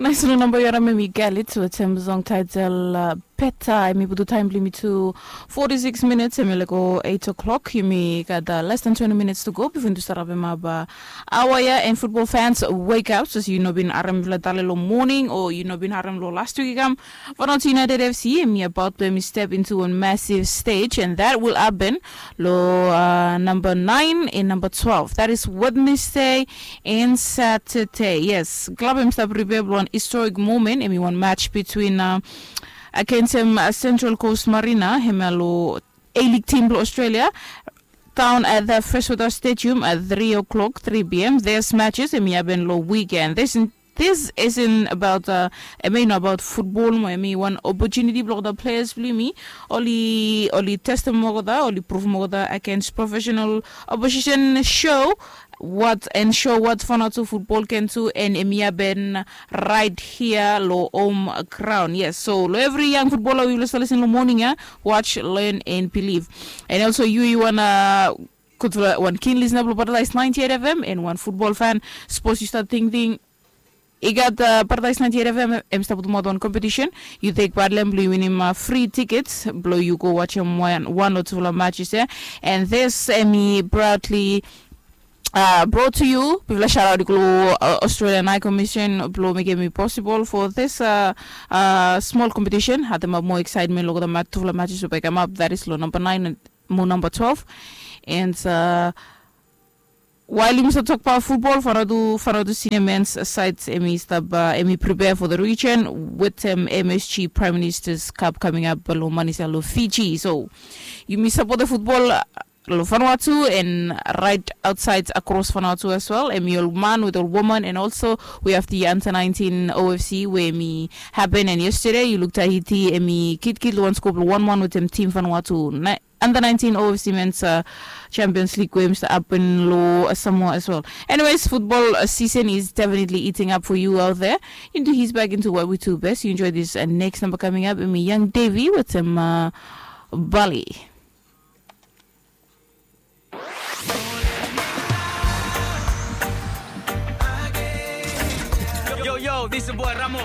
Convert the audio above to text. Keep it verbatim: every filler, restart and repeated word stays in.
Nais long namba yu harim em i galit wetem song title uh, peta em i putu taim bilong mi tu forty-six minutes em i lego eight o'clock yumi gat uh, less than twenty minutes to go before tu sarapim up uh, awa ya and football fans wake up sos yu no bin harim mifla tale long morning o yu no bin harim long last week i kam fanot united fc em i about to em i step into a massive stage and that will happen lo uh, number nine and number twelve that is wednesday and saturday yes klab em stap prepare bilong one historic moment em i one match between uh, against em uh, central coast marina em ya lo a-league team bilong australia down at the freshwater stadium at three o'clock three p.m this matches em i happen lo weekend this This isn't about uh, I mean about football mo I mean one opportunity block the players blue me only only testimony mogoda only proof mogoda against professional opposition show what and show what fanato football can do and emi haben right here lo home ground yes so lo every young footballer we listen lo morning ya watch learn and believe and also you you wanna good for one keen listener blo paradise ninety-eight fm and one football fan suppose you start thinking I gat uh, Paradise ninety-eight F M em stap with modern competition. You take part lem blue winning uh, free tickets. Blow you go watch him one one or two matches eh? And this Emmy proudly uh, brought to you. Bifla shout out to uh, Australian High Commission. Blow make it possible for this uh, uh, small competition. Had them up more excitement. Look at the mat two matches will pick them up. That is law number nine and mo number twelve. And uh, While yumi stap tokbaot futbol, Faradu Faradu Senior Men's Side emi stap uh, emi prepare for the region with um, M S G Prime Minister's Cup coming up lo Manisa lo Fiji. So yumi support the football uh, lo Vanuatu and right outside across Vanuatu as well. Emi ol man with ol woman and also we have the under nineteen O F C where emi happen and yesterday you look Tahiti emi kid kid lo one scope lo one one with them team Vanuatu. under nineteen O F C Men's uh, Champions League games happen lo uh, Samoa as well. Anyways, football uh, season is definitely eating up for you out there. Into his back into what we do best. You enjoy this uh, next number coming up. Emi Young Davy with some uh, Bali. Yo, yo, this is boy Ramo.